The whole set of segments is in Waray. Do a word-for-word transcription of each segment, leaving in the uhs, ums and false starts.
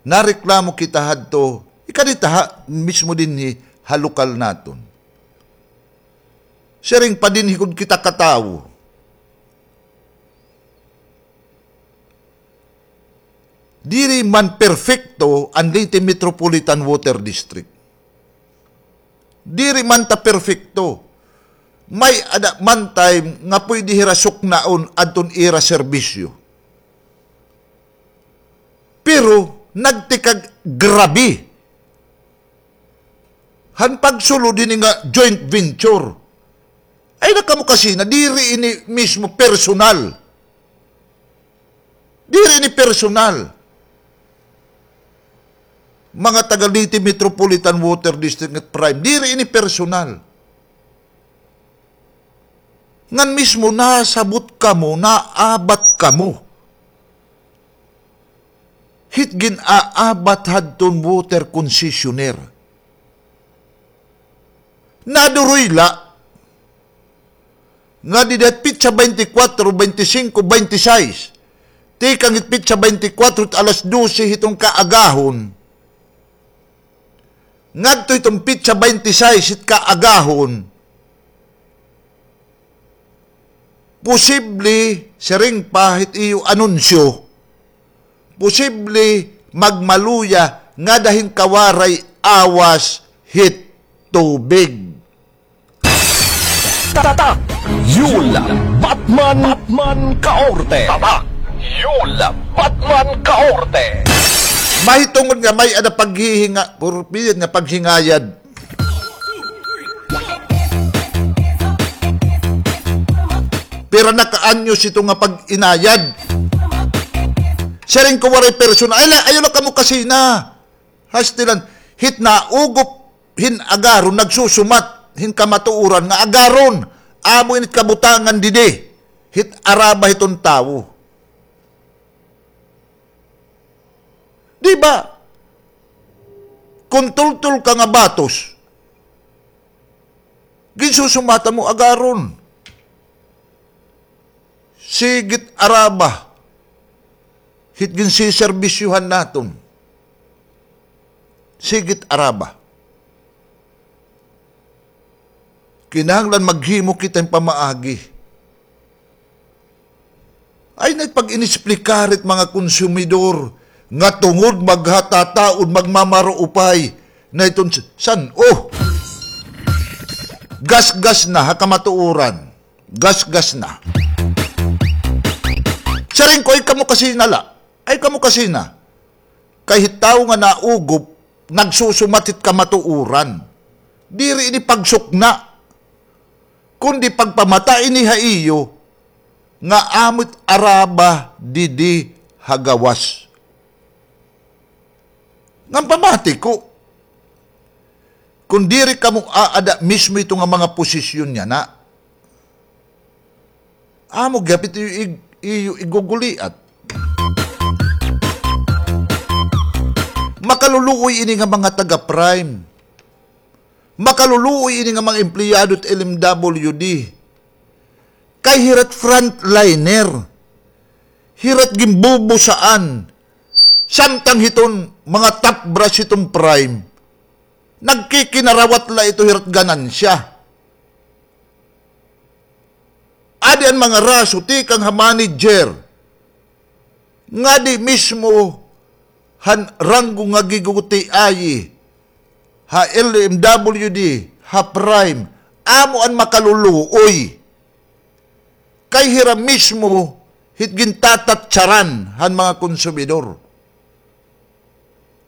Nareklamo kita hadto, ikadi ta ha, mismo dinhi ha lokal naton. Siring pa dinhi gud kita ka tawo. Diri man perpekto an Leyte Metropolitan Water District. Diri man ta perpekto. May-ada man time nga pwede hira suknaon adton ira serbisyo. Pero nagtikag grabe han pagsulod hini nga joint venture. Ayaw la kamo kasina, diri ini mismo personal. Diri ini personal. Mga taga Leyte Metropolitan Water District ngan Prime, diri ini personal. Ngan mismo nasabot kamo, naabat kamo hit gin-aabat hadton water concessionaire. Naduroy la nga dida hit petsa baynte kwatro, baynte singko, baynte sais, tikang hit petsa baynte kwatro hit alas dose hiton kaagahon, ngadto hiton petsa baynte sais hit kaagahon, posible, siring pa hit iyo anunsyo, posible magmaluya ngada hin kawaray awas hit tubig. Tatak Yul Batman, Batman Kaorte. Tatak Yul Batman Kaorte. Mahitungod nga may-ada paghihinga-, purpiyat nga paghingayad. Pira na ka anyos ito nga pag-inayad. Siring ko waray personal. Ay, la-, ayaw la kamo kasina. Hastilan, hit naugop hin agaron, nagsusumat hin kamatuoran nga agaron. Amo ini it kabutangan didi hit araba hiton tawo. Di ba? Kon tultol ka nga batos, ginsusumatan mo agaron. Sige it araba hit ginseserbisyohan naton. Sige it araba. Kinahanglan maghimo kita hin pamaagi. Ay, na pag-inexplikar it mga konsumidor nga tungod maghatataod, magmamaruupay na iton s-, san-o. Gasgas na ha kamatuoran. Gasgas na. Siring ko, ay kamo kasina la. Ay kamo kasina. Kay hit tawo nga naugop, nagsusumat hit kamatuoran. Diri ini pagsukna, kundi pagpamata ini ha iyo nga amo it araba didi ha gawas. Ngan pamati ko, kon diri kamo aada mismo ito nga mga posisyon yana, amo gihap ito iyo ig-, iyo iguguliat. Makaluluoy ini nga mga taga-Prime. Makaluluoy ini nga mga empleyado hit L M W D. Kay hira it frontliner. Hira it ginbubusaan. Samtang hiton mga top brass hiton Prime, nagkikinarawat la ito hira it ganansya. Adi an mga raso tikang ha manager, ngadi mismo han ranggo nga gigugutiayi ha L M W D, ha Prime, amo an makaluluoy. Kay hira mismo hit gintatatsaran han mga konsumidor.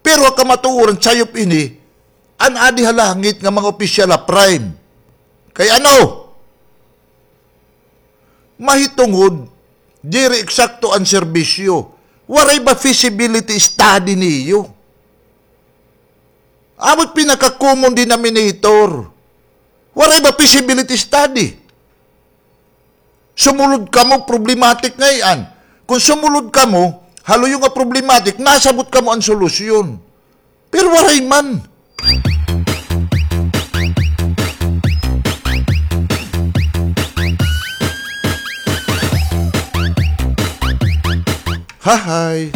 Pero ha kamatuoran, sayop ini an adi ha langit nga mga opisyal ha Prime. Kay ano? Mahitungod, diri eksakto an serbisyo. Waray ba feasibility study niyo? Amo it pinaka-common denominator. Waray ba feasibility study? Sumulod kamo, problematic ngay-an. Kon sumulod kamo ha luyo nga problematic, nasabot kamo an solusyon. Pero waray man. Hahay.